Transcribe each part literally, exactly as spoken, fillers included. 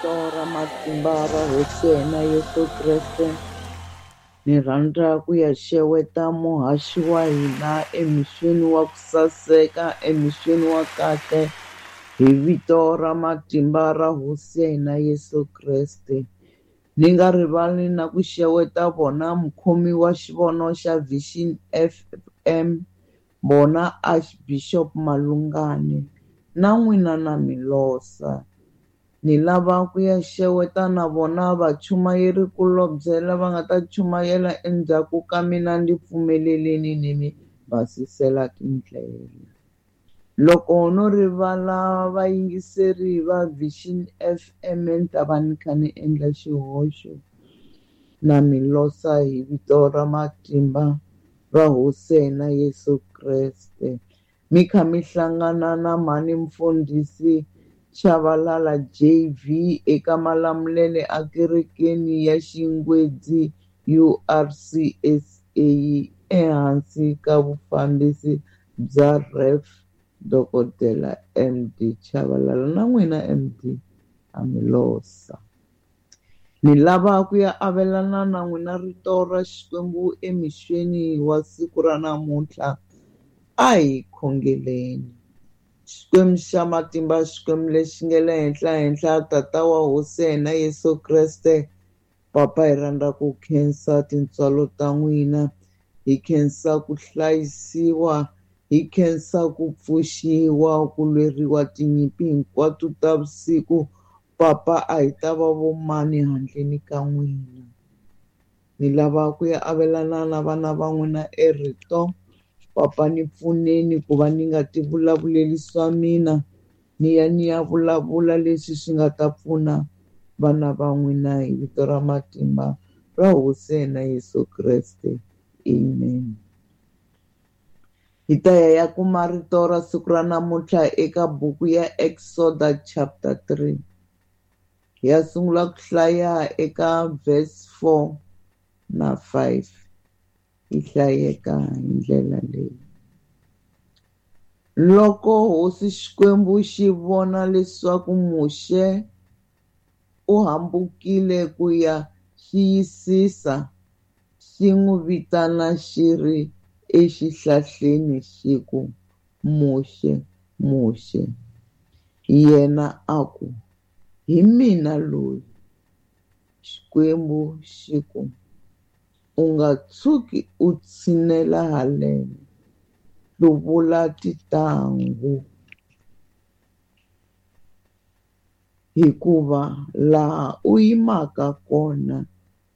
vito ra matimba ra Hosi ya hina Yesu Kreste, ni rhandza ku ya xeweta muhaxi wa hina emixweni wa ku saseka, emixweni wa kahle, hi vito ra matimba ra Hosi ya hina Yesu Kreste. Ni nga rivali na ku xeweta vona mukhomi wa xivono xa Vision F M, vona Archbishop Malungane, na n'wina na Milosa. Ni lava ku ya xeweta na vona vachumayeri kulobye lava nga ta chumayela endzhaku ka mina, ndzi pfumeleleni ni mi basisela tindlela. Loko no rivala vayingiseri va Vision F M ni ta va ni kha ni endla xihoxo. Na Milosa hi vito ra matimba ra Hosi ya hina Yesu Kreste. Mi kha mi hlangana na mhani mfundhisi Chavalala J V eka Malamulele a kerekeni ya Xingwedzi U R C S A ehansi ka vufambisi bya Rev Dokodela M D Chavalala. Na n'wina M D a Milosa. Ni lava ku ya avelana na n'wina rito ra Xikwembu emixweni wa siku ra namuntlha. A hi khongeleni. Xikwembu xa matimba, Xikwembu lexi nga le henhla henhla, Tata wa Hosi ya hina Yesu Kreste, Papa, hi rhandza ku khensa tintswalo ta n'wina, hi khensa ku hlayisiwa, hi khensa ku pfuxiwa, ku lweriwa tinyimpi hinkwato ta vusiku. Papa, a hi ta va vomani handleni ka n'wina. Ni lava ku ya avelana na vana va n'wina erito. Papa, ni pfuneni ku va ni nga ti vulavuleli swa mina, ni ya ni ya vulavula leswi swi nga ta pfuna vana va n'wina hi vito ra matimba ra Hosi ya hina Yesu Kreste. Amen. Hi ta ya ya kuma rito ra siku ra namuntlha eka buku ya Exoda chapter three. Hi ya sungula ku hlaya eka verse four na five. Yi hlayeka hi ndlela leyi. Loko Hosi Xikwembu xi vona leswaku Muxe u hambukile ku ya xiyisisa, xi n'wi vitana xi ri exihlahleni xi ku, Muxe, Muxe. Yena a ku, Hi mina loyi. Xikwembu xi ku, U nga tshuki u tshinela haleno, hluvula tintangu, hikuva laha u yimaka kona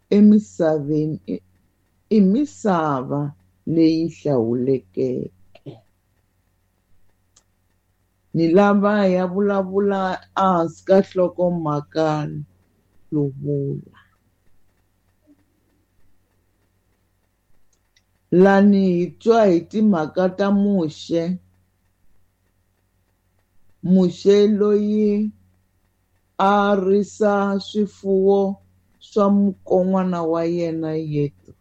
emisaveni i misava leyi hlawulekeke. Ni lava ya vulavula ehansi ka nhlokomhaka hluvula. Lani hi twa hi timhaka ta Muxe. Muxe loyi a risa swifuwo swa mukon'wana wa yena Yetro.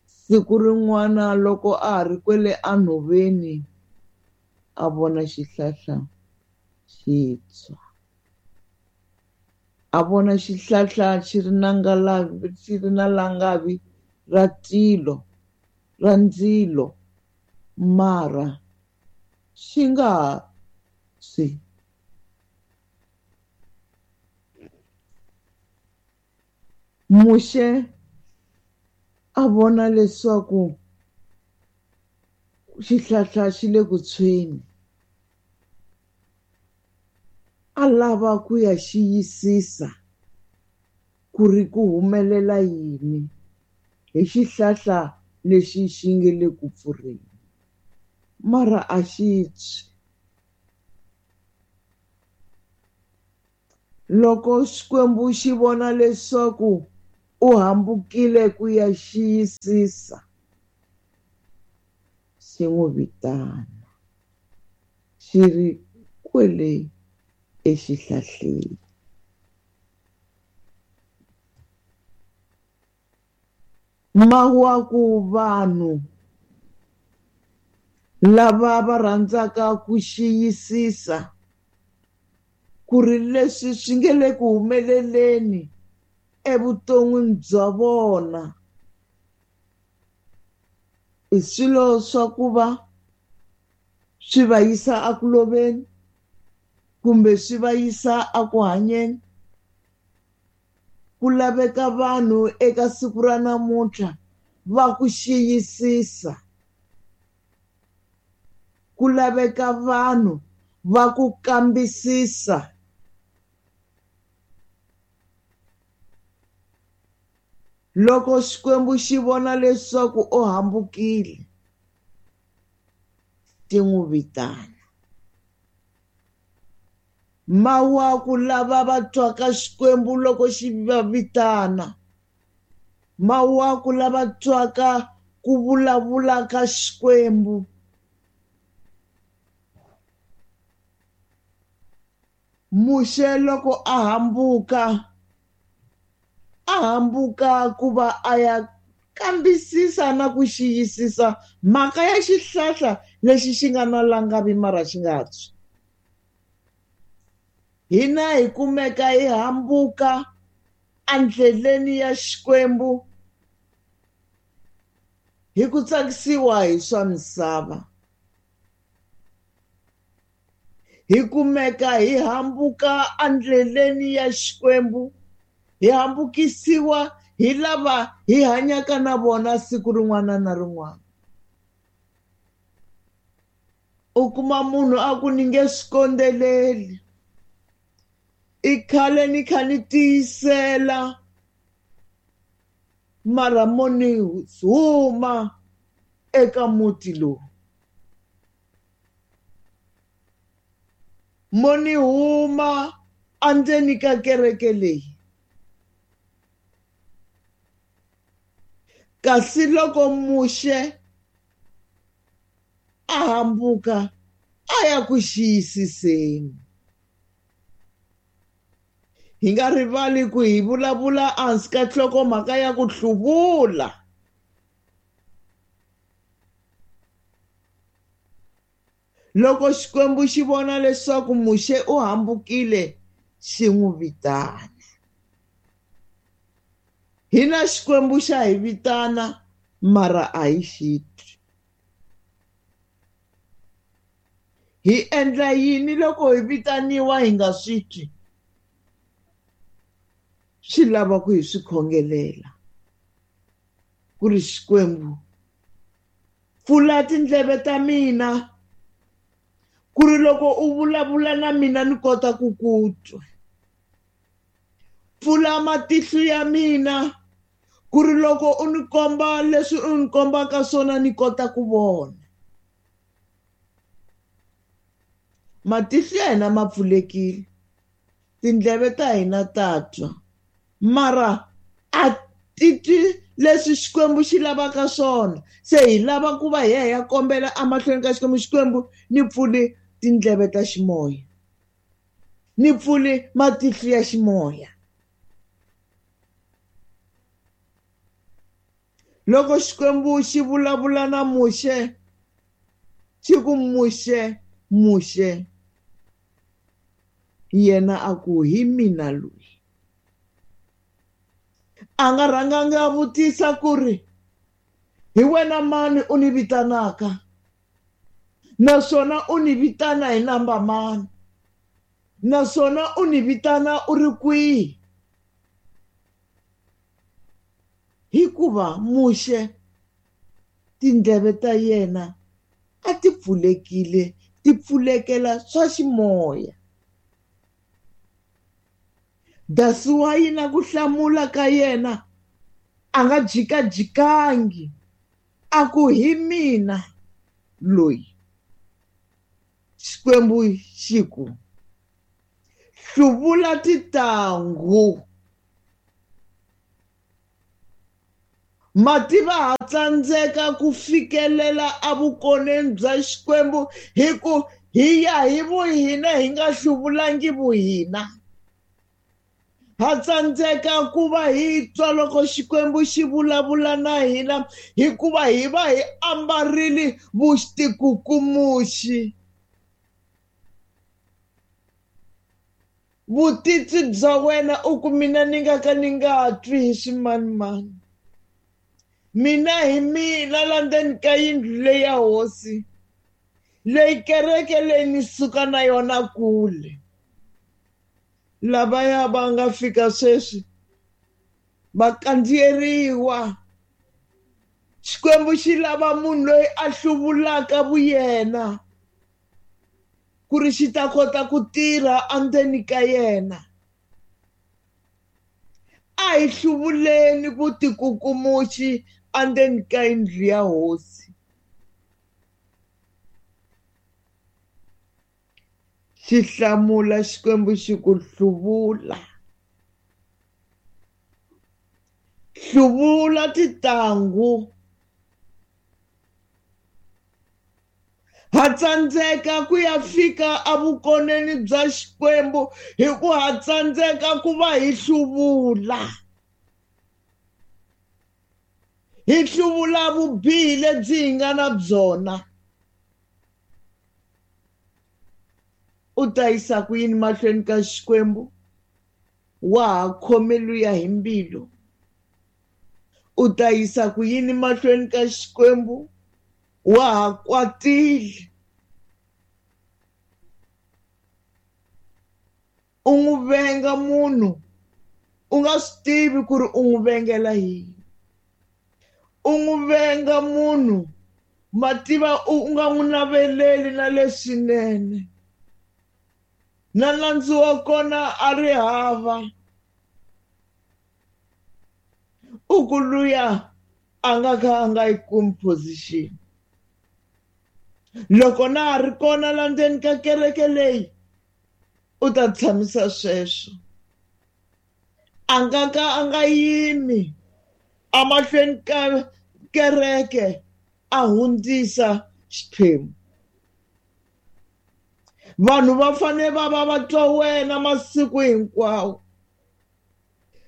Siku rin'wana loko a ha ri kwele enhoveni, a vona xihlahla xi tshwa. A vona xihlahla xi ri na ngalavi, xi ri na langavi ra tilo, ra ndzilo, mara xi nga tshwi. Muxe a vona leswaku xihlahla xi le ku tshweni. A lava ku ya xiyisisa ku ri ku humelela yini hi xihlahla lexi xi nge le ku pfurheni, mara a xi tshwi. Loko Xikwembu xi vona leswaku u hambukile ku ya xiyisisa, xi n'wi vitana xi ri kwele exihlahleni. Mawaku vanhu lava va rhandzaka ku xiyisisa ku ri leswi swi nge le ku humeleleni evuton'wini bya vona i swilo swa ku va swi va yisa eku loveni kumbe swi va yisa eku hanyeni. Ku laveka vanhu eka siku ra namuntlha va ku xiyisisa, ku laveka vanhu va ku kambisisa. Loko Xikwembu xi vona leswaku u hambukile, ti n'wi vitana. Mawaku lava va twaka Xikwembu loko xi va vitana, mawaku lava twaka ku vulavula ka Xikwembu. Muxe loko a hambuka, a hambuka ku va a ya kambisisa na ku xiyisisa mhaka ya xihlahla lexi xi nga na langavi mara xi nga tshwi. Hina hi kumeka hi hambuka endleleni ya Xikwembu hi ku tsakisiwa hi swa misava. Hi kumeka hi hambuka endleleni ya Xikwembu, hi hambukisiwa hi lava hi hanyaka na vona siku rin'wana na rin'wana. U kuma munhu a ku ni nge swi kondzeleli, i khale ni kha ni tiyisela mara mo ni huma eka muti lowu, mo ni huma endzeni ka kereke leyi. Kasi loko Muxe a hambuka a ya ku xiyisiseni. Hi nga rivali ku hi vulavula ehansi ka nhlokomhaka ya ku hluvula. Loko Xikwembu xi vona leswaku Muxe u hambukile, xi n'wi vitana. Hina Xikwembu xa hi vitana mara a hi xi twi. Hi endla yini loko hi vitaniwa hi nga swi twi? Swi lava ku hi swi khongelela ku ri Xikwembu pfula tindleve ta mina ku ri loko u vulavula na mina ni kota ku ku twa. Pfula matihlo ya mina ku ri loko u ni komba leswi u ni kombaka swona ni kota ku vona. Matihlo ya hina ma pfulekile, tindleve ta hina ta twa, mara a ti twi leswi Xikwembu xi lavaka swona. Se hi lava ku va hi ya hi ya kombela emahlweni ka Xikwembu, Xikwembu ni pfuli tindleve ta ximoya, ni pfuli matihlo ya ximoya. Loko Xikwembu xi vulavula na Muxe, xi ku Muxe, Muxe, yena a ku hi mina loyi. A nga rhanganga a vutisa ku ri hi wena mani u ni vitanaka, naswona u ni vitana hi namba mani, naswona u ni vitana u ri kwihi. Hikuva Muxe tindleve ta yena a ti pfulekile, ti pfulekela swa ximoya. That's why na ku hlamula ka yena a nga jikajikangi, a ku hi mina loyi. Xikwembu xi ku hluvula tintangu. Mativa ha tsandzeka ku fikelela evukoneni bya Xikwembu hi ku hi ya hi vuhina hi nga hluvulangi vuhina. Ha tsandzeka ku va hi twa loko Xikwembu xi vulavula na hina hikuva hi va hi ambarile vutikukumuxi. Vutitwi bya wena u ku mina ni nga ka ni nga twi hi swimanimani. Mina hi mina la ndzeni ka yindlu leyi ya hosi, leyi kereke leyi ni suka na yona kule. Lavaya va nga fika sweswi va kandziyeriwa. Xikwembu xi lava munhu loyi a hluvulaka vuyena ku ri xi ta kota ku tirha endzeni ka yena. A hi hluvuleni vutikukumuxi endzeni ka yindlu ya hosi. Xi hlamula Xikwembu xi ku hluvula. Hluvula titangu. Ha tsandzeka ku ya fika evukoneni bya Xikwembu hi ku ha tsandzeka ku va hi hluvula. Hi hluvula vubihi lebyi hi nga na byona. U ta yisa ku yini mahlweni ka Xikwembu? Wa ha khome luya hi mbilu. U ta yisa ku yini mahlweni ka Xikwembu? Wa ha kwatile. U n'wi venga munhu u nga swi tivi ku ri u n'wi vengela yini. U n'wi venga munhu mativa u nga n'wi naveleli na leswinene. Na nandzu wa kona a ri hava. U ku luya a nga kha a nga yi kumi position. Loko na ha ri kona la ndzeni ka kereke leyi, u ta tshamisa sweswo. A nga ka a nga yimi emahlweni ka kereke a hundzisa xiphemu. Vanhu va fanele va va va twa wena masiku hinkwawo.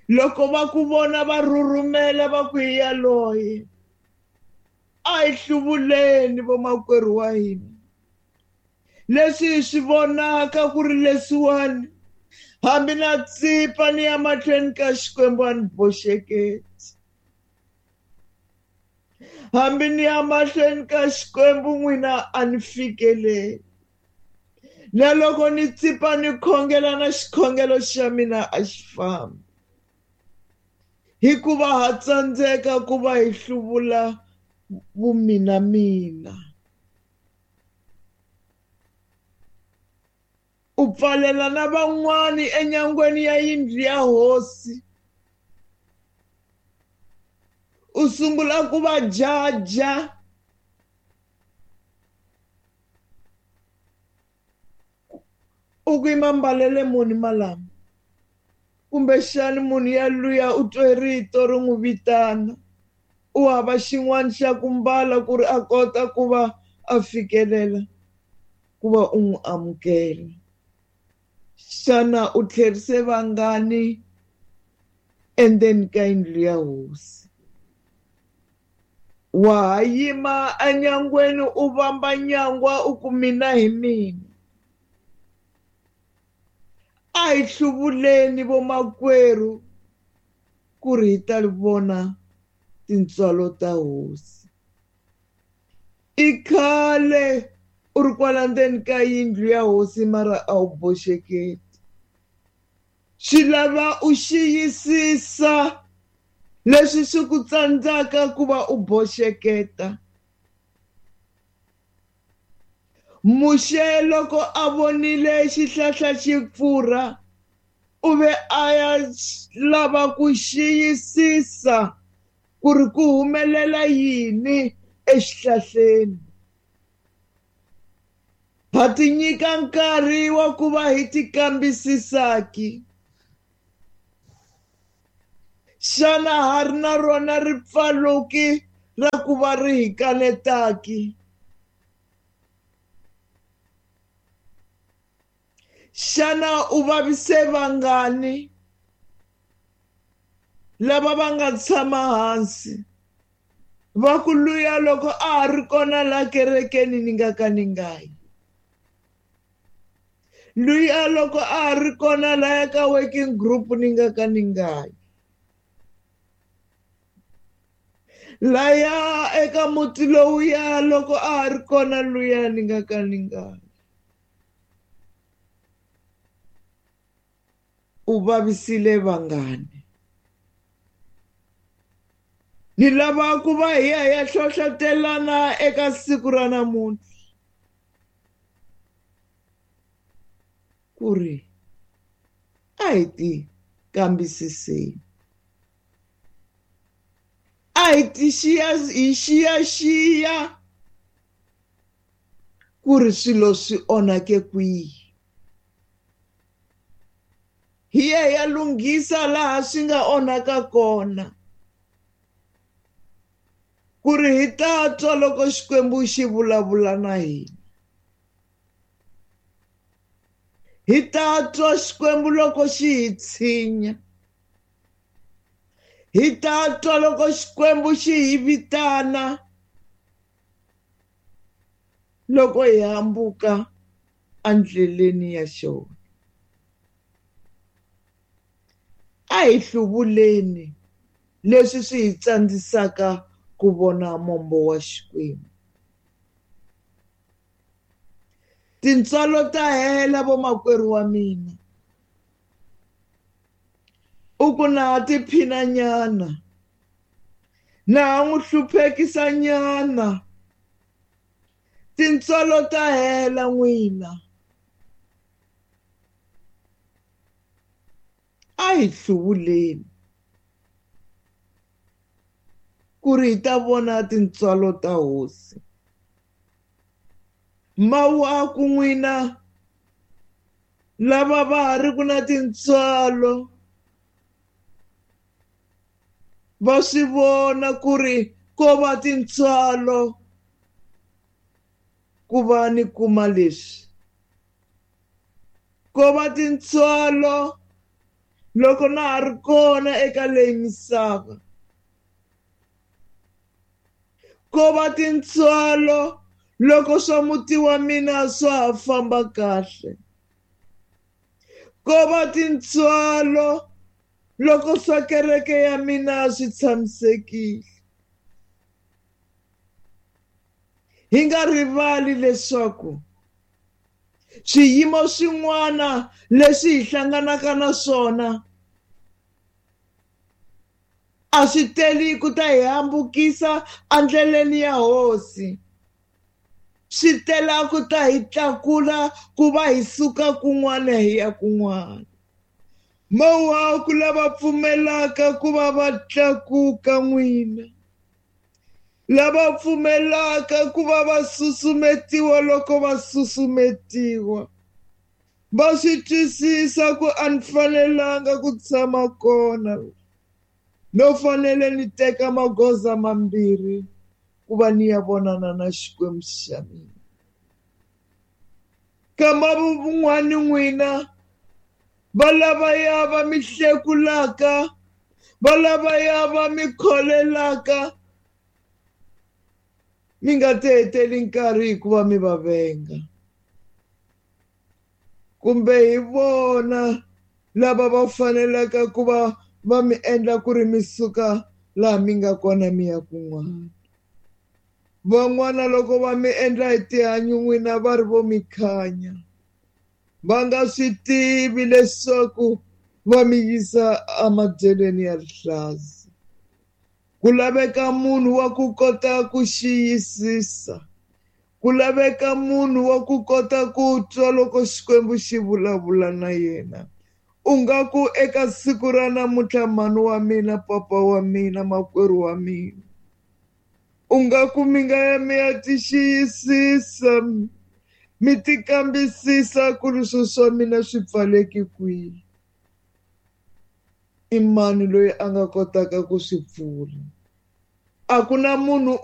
Loko va ku vona va rhurhumela va ku hi yaloye. A hi hluvuleni vomakwerhu wa hina. Leswi hi swi vonaka ku ri leswiwani, hambi na tsipa ni ya mahlweni ka Xikwembu a ni boxeketi. Hambi ni ya mahlweni ka Xikwembu n'wina a ni fikeleli. Na loko ni tsipa ni khongela na xikhongelo xa mina a xi fambi. Hikuva ha tsandzeka ku va hi hluvula vumina mina. U pfalela na van'wani enyangweni ya yindlu ya hosi. U sungula ku va jaja. U ku i mbalele muni malama. Kumbexani munhu ya luya u twe rito ri n'wi vitana. U hava xin'wana xa ku mbala ku ri a kota ku va a fikelela ku va u n'wi amukela. Xana u tlherise vangani endzeni ka yindlu ya hosi? Wa ha yima enyangweni u vamba nyangwa u ku mina hi mina. A hi hluvuleni vomakwerhu ku ri hi ta vona tintswalo ta hosi. I khale u ri kwala ndzeni ka yindlu ya hosi mara a wu boxeketi. Swi lava u xiyisisa leswi swi ku tsandzaka ku va u boxeketa. Muxe loko a vonile xihlahla xi pfurha, u ve a ya lava ku xiyisisa ku ri ku humelela yini exihlahleni. Ha ti nyika nkarhi wa ku va hi ti kambisisaki. Xana ha ri na rona ripfaloki ra ku va ri hi kanetaki? Xana u vavise vangani lava va nga tshama hansi va ku luya loko a ha ri kona la kerekeni ni nga ka ni nga yi? Luya loko a ri kona laya ka working group ni nga ka ni nga yi. Laya eka muti lowuya loko a ri kona luya ni nga ka ni nga yi. U vavisile vangani. Ni lava ku va hi ya hi ya hlohlotelana eka siku ra namuntlha ku ri a hi ti kambisiseni, a hi ti xiya hi xiyaxiya ku ri swilo swi onhake kwihi, hi ya hi ya lunghisa laha swi nga onhaka kona, ku ri hi ta twa loko Xikwembu xi vulavula na hina. Hi ta twa Xikwembu loko xi hi tshinya. Hi ta twa loko Xikwembu xi hi vitana loko hi hambuka endleleni ya xona. A hi hluvuleni leswi swi hi tsandzisaka ku vona mombo wa Xikwembu. Tintswalo ta hela vomakwerhu wa mina. U ku na ha tiphinanyana, na ha n'wi hluphekisanyana. Tintswalo ta hela n'wina. A hi hluvuleni ku ri hi ta vona tintswalo ta Hosi. Mawaku n'wina lava va ha ri ku na tintswalo va swi vona ku ri ko va tintswalo ku va ni kuma leswi, ko va tintswalo loko na ha ri kona eka leyi misava, ko va tintswalo loko swa muti wa mina swa ha famba kahle, ko va tintswalo loko swa kereke ya mina swi tshamisekile. Hi nga rivali leswaku swiyimo swin'wana leswi hi hlanganaka na swona a swi teli ku ta hi hambukisa endleleni ya Hosi. Swi tela ku ta hi tlakula ku va hi suka kun'wana hi ya kun'wana. Mawaku lava pfumelaka ku va va tlakuka n'wina, lava pfumelaka ku va va susumetiwa loko va susumetiwa, va swi twisisa ku a ni fanelanga ku tshama kona, no fanele ni teka magoza mambirhi ku va ni ya vonana na Xikwembu xa mina. Kamba vun'wani n'wina va lavaya va mi hlekulaka, va lavaya va mi kholelaka, mi nga ti heteli nkarhi hikuva mi va venga, kumbe hi vona lava va fanelaka ku va va mi endla ku ri mi suka laha mi nga kona mi ya kun'wana. Van'wana loko va mi endla hi tihanyi n'wina va ri vo mi khanya, va nga swi tivi leswaku va mi yisa emadyelweni ya rihlaza. Ku laveka munhu wa ku kota ku xiyisisa, ku laveka munhu wa ku kota ku twa loko Xikwembu xi vulavula na yena. U nga ku eka siku ra namuntlha, mhani wa mina, papa wa mina, makwerhu wa mina, u nga ku mi nga ya mi ya ti xiyisisa, mi ti kambisisa ku ri swilo swa mina swi pfaleki kwihi. I mani loyi a nga kotaka ku swi pfula? A ku na munhu